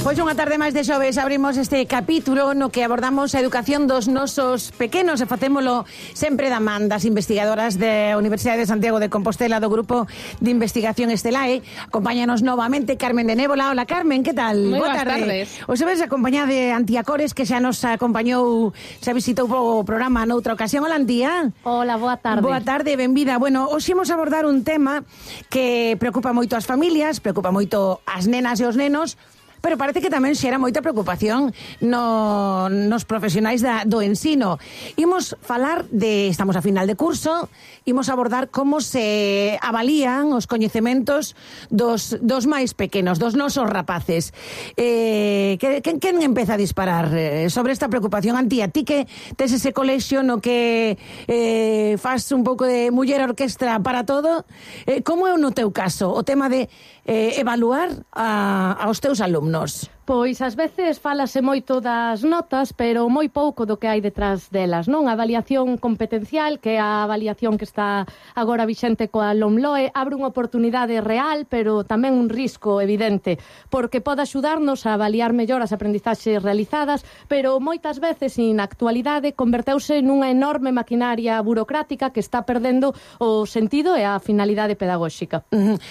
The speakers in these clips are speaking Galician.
Pois unha tarde máis de xoves abrimos este capítulo no que abordamos a educación dos nosos pequenos e facémolo sempre da man das investigadoras da Universidade de Santiago de Compostela do Grupo de Investigación Estelae. Acompáñanos novamente Carmen de Nébola. Hola Carmen, que tal? Moi boas tardes. Hoxe ves acompañada de Antía Cores, que xa nos acompañou, xa visitou o programa noutra ocasión. Hola Antía. Hola, boa tarde. Boa tarde, benvida. Bueno, hoxe imos abordar un tema que preocupa moito as familias, preocupa moito as nenas e os nenos, pero parece que tamén xera moita preocupación nos profesionais do ensino. Imos falar estamos a final de curso, imos abordar como se avalían os coñecementos dos máis pequenos, dos nosos rapaces. Quen empeza a disparar sobre esta preocupación? Antía, ti que tes ese colexio no que faz un pouco de muller orquestra para todo, como é no teu caso o tema de evaluar aos teus alumnos? Pois ás veces falase moito das notas, pero moi pouco do que hai detrás delas, non? A avaliación competencial, que é a avaliación que está agora vixente coa LOMLOE, abre unha oportunidade real, pero tamén un risco evidente, porque pode axudarnos a avaliar mellor as aprendizaxes realizadas, pero moitas veces, na actualidade, converteuse nunha enorme maquinaria burocrática que está perdendo o sentido e a finalidade pedagóxica.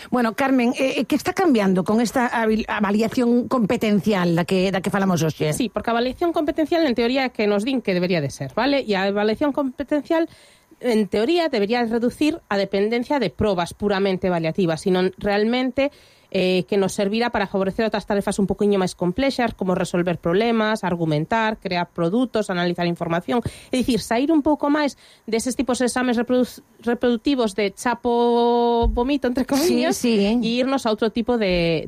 Bueno, Carmen, que está cambiando con esta avaliación competencial da que falamos hoxe? Sí, porque a avaliación competencial en teoría é que nos din que debería de ser, vale? E a avaliación competencial en teoría debería reducir a dependencia de probas puramente avaliativas, sino realmente que nos servirá para favorecer outras tarefas un poquinho máis complexas, como resolver problemas, argumentar, crear produtos, analizar información. É dicir, sair un pouco máis deses tipos de exames reproductivos de chapo vomito, entre comillas, e irnos a outro tipo de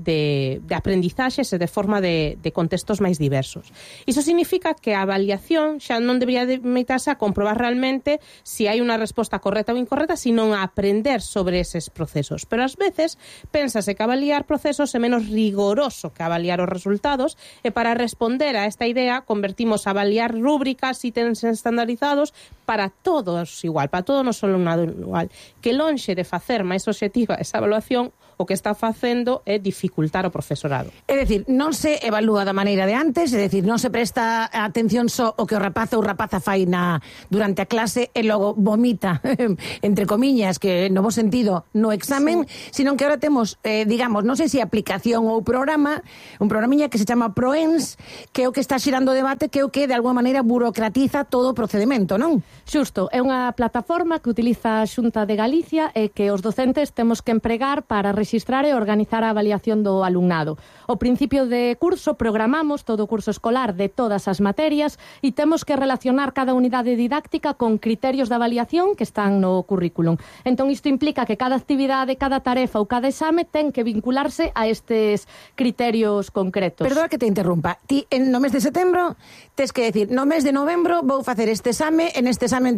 aprendizaxes e de forma de contextos máis diversos. Iso significa que a avaliación xa non debería limitarse a comprobar realmente se hai unha resposta correcta ou incorrecta, sino a aprender sobre eses procesos. Pero ás veces pénsase que avaliar procesos é menos rigoroso que avaliar os resultados, e para responder a esta idea convertimos a avaliar rúbricas, ítems estandarizados para todos igual, para todo non só alumnado igual, que lonxe de facer máis obxectiva esa evaluación, o que está facendo é dificultar o profesorado. É dicir, non se evalúa da maneira de antes, é dicir, non se presta atención só o que o rapaz ou rapaza fai durante a clase e logo vomita, entre comiñas, que no bo sentido, no examen, sino que ahora temos, digamos, non sei se aplicación ou programa, un programiña que se chama ProEns, que é o que está xirando o debate, que é o que de alguma maneira burocratiza todo o procedimento, non? Xusto, é unha plataforma que utiliza a Xunta de Galicia e que os docentes temos que empregar para rexistrar e organizar a avaliación do alumnado. Ao principio de curso programamos todo o curso escolar de todas as materias e temos que relacionar cada unidade didáctica con criterios de avaliación que están no currículum. Entón isto implica que cada actividade, cada tarefa ou cada exame ten que vincularse a estes criterios concretos. Perdona que te interrumpa. Ti no mes de setembro tes que decir, no mes de novembro vou facer este exame, en este exame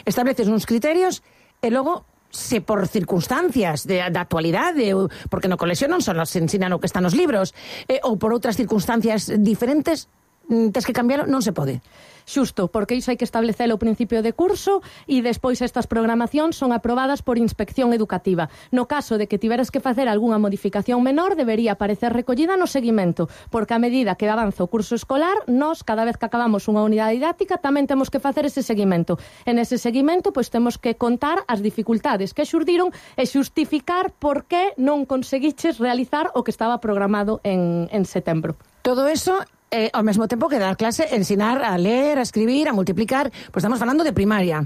estableces uns criterios e logo se por circunstancias da actualidade, porque no colexio non só nos ensinan o que está nos libros, ou por outras circunstancias diferentes, tes que cambiarlo, non se pode. Xusto, porque iso hai que establecelo ao principio de curso e despois estas programacións son aprobadas por inspección educativa. No caso de que tiveras que facer algunha modificación menor, debería aparecer recollida no seguimento, porque a medida que avanza o curso escolar, nós, cada vez que acabamos unha unidade didáctica, tamén temos que facer ese seguimento. En ese seguimento, pois temos que contar as dificultades que xurdiron e xustificar por que non conseguiches realizar o que estaba programado en setembro. Todo eso ao mesmo tempo que dar clase, ensinar a ler, a escribir, a multiplicar, pois estamos falando de primaria.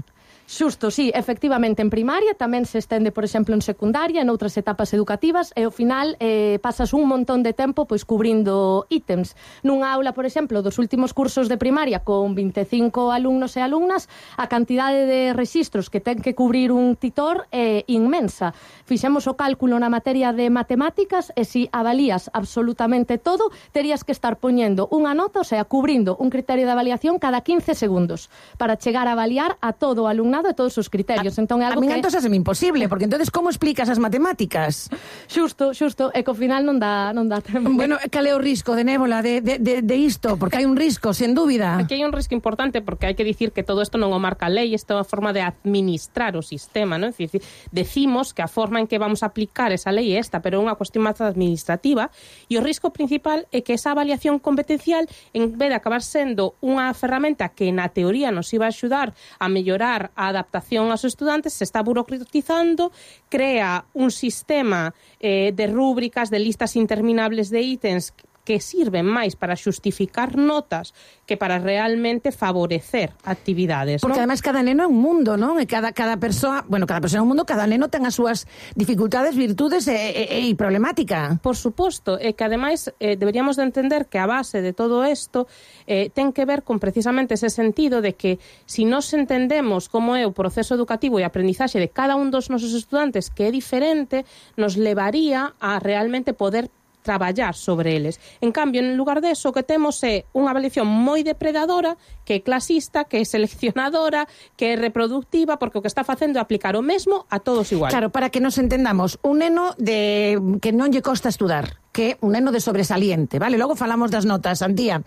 Xusto, sí, efectivamente en primaria, tamén se estende, por exemplo, en secundaria, en outras etapas educativas, e ao final pasas un montón de tempo pois cubrindo ítems. Nunha aula, por exemplo, dos últimos cursos de primaria con 25 alumnos e alumnas, a cantidade de rexistros que ten que cubrir un titor é inmensa. Fixemos o cálculo na materia de matemáticas e se avalías absolutamente todo, terías que estar poñendo unha nota, o sea, cubrindo un criterio de avaliación cada 15 segundos para chegar a avaliar a todo o alumnado alumnado e todos os criterios. Entón, é algo a min que... entón é imposible, porque entonces como explicas as matemáticas? Xusto, e que ao final non dá tempo. Bueno, cal é o risco de Nébola de isto? Porque hai un risco, sen dúbida. Aquí hai un risco importante, porque hai que dicir que todo isto non o marca a lei, isto é unha forma de administrar o sistema, non? É dicir, decimos que a forma en que vamos a aplicar esa lei é esta, pero é unha cuestión máis administrativa, e o risco principal é que esa avaliación competencial, en vez de acabar sendo unha ferramenta que na teoría nos iba a axudar a mellorar a adaptación aos estudantes, se está burocratizando, crea un sistema de rúbricas, de listas interminables de ítems que sirven máis para xustificar notas que para realmente favorecer actividades. Porque non? además cada neno é un mundo, non? E cada persoa é un mundo, cada neno ten as súas dificultades, virtudes e problemática. Por suposto, e que ademais deberíamos de entender que a base de todo isto ten que ver con precisamente ese sentido de que si nos entendemos como é o proceso educativo e aprendizaxe de cada un dos nosos estudantes, que é diferente, nos levaría a realmente poder traballar sobre eles. En cambio, en lugar de eso, o que temos é unha avaliación moi depredadora, que é clasista, que é seleccionadora, que é reproductiva, porque o que está facendo é aplicar o mesmo a todos igual. Claro, para que nos entendamos, un neno que non lle costa estudar, que un neno de sobresaliente, vale? Logo falamos das notas, Antía.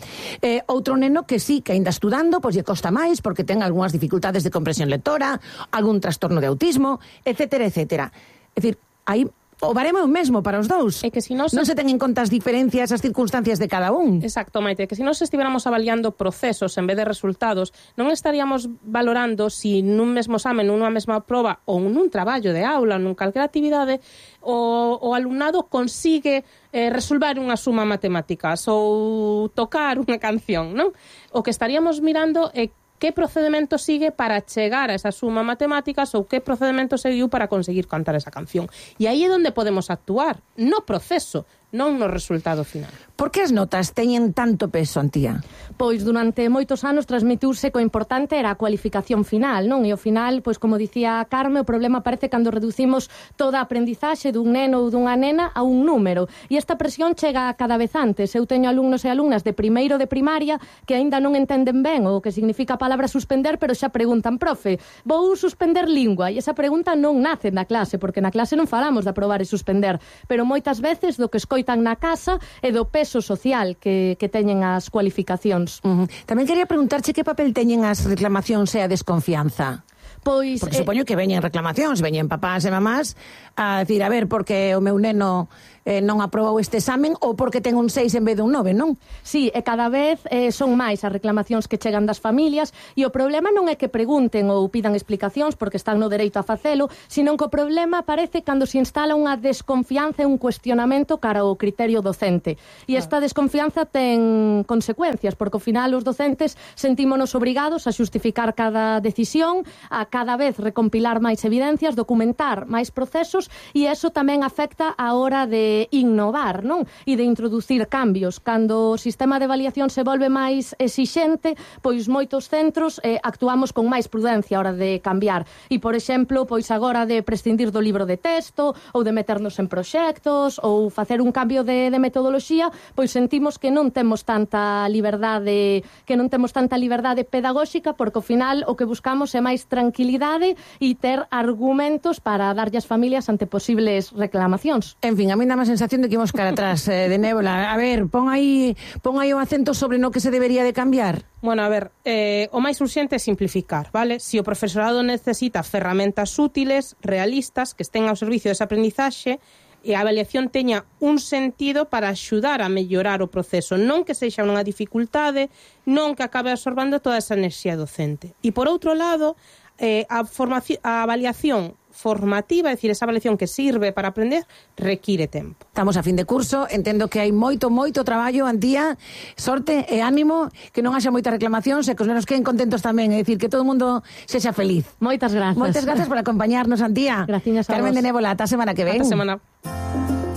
Outro neno que sí, que ainda estudando, pois lle costa máis, porque ten algunhas dificultades de comprensión lectora, algún trastorno de autismo, etcétera, etcétera. É dicir, aí o baremo é o mesmo para os dous. É que si non se ten en conta as diferencias, as circunstancias de cada un. Exacto, Maite, que se nós estiveramos avaliando procesos en vez de resultados, non estaríamos valorando si nun mesmo examen, nunha mesma proba ou nun traballo de aula, nun calquera actividade, o alumnado consigue resolver unha suma matemáticas ou tocar unha canción, non? O que estaríamos mirando é que procedimento sigue para chegar a esa suma matemáticas ou que procedimento seguiu para conseguir cantar esa canción. E aí é onde podemos actuar, no proceso, non no resultado final. Por que as notas teñen tanto peso, Antía? Pois durante moitos anos transmitiuse que o importante era a cualificación final, non? E ao final, pois como dicía Carme, o problema aparece cando reducimos toda a aprendizaxe dun neno ou dunha nena a un número. E esta presión chega cada vez antes. Eu teño alumnos e alumnas de primeiro de primaria que aínda non entenden ben o que significa a palabra suspender, pero xa preguntan, profe, vou suspender lingua? E esa pregunta non nace na clase, porque na clase non falamos de aprobar e suspender, pero moitas veces do que escoitan na casa e do peso social que teñen as cualificacións. Tamén quería preguntarche que papel teñen as reclamacións e a desconfianza. Pois, porque supoño que veñen reclamacións, veñen papás e mamás a decir, a ver, porque o meu neno non aprobou este examen ou porque ten un 6 en vez de un 9, non? Sí, e cada vez son máis as reclamacións que chegan das familias e o problema non é que pregunten ou pidan explicacións porque están no dereito a facelo, sino que o problema aparece cando se instala unha desconfianza e un cuestionamento cara ao criterio docente. E esta desconfianza ten consecuencias, porque ao final os docentes sentímonos obrigados a xustificar cada decisión, a cada vez recompilar máis evidencias, documentar máis procesos, e eso tamén afecta a hora de innovar, non? E de introducir cambios. Cando o sistema de avaliación se volve máis exixente, pois moitos centros actuamos con máis prudencia a hora de cambiar. E, por exemplo, pois agora de prescindir do libro de texto, ou de meternos en proxectos, ou facer un cambio de metodoloxía, pois sentimos que non temos tanta liberdade pedagóxica, porque ao final o que buscamos é máis tranquilidade e ter argumentos para darlle ás familias ante posibles reclamacións. En fin, a mí dá a sensación de que imos cara atrás de Nébola. A ver, pon aí o acento sobre no que se debería de cambiar. Bueno, a ver, o máis urxente é simplificar, vale? Se o profesorado necesita ferramentas útiles, realistas, que estén ao servicio desa aprendizaxe, e a avaliación teña un sentido para axudar a mellorar o proceso, non que sexa unha dificultade, non que acabe absorbando toda esa enerxía docente. E por outro lado, a avaliación formativa, é dicir, esa avaliación que sirve para aprender, require tempo. Estamos a fin de curso, entendo que hai moito traballo, Antía, sorte e ánimo, que non haxa moitas reclamacións e que os nenos queden contentos tamén, é dicir, que todo o mundo sexa feliz. Moitas grazas. Moitas grazas por acompañarnos, Antía. Graciñas a vos. Carmen de Nébola, ata a semana que ven. Ata semana.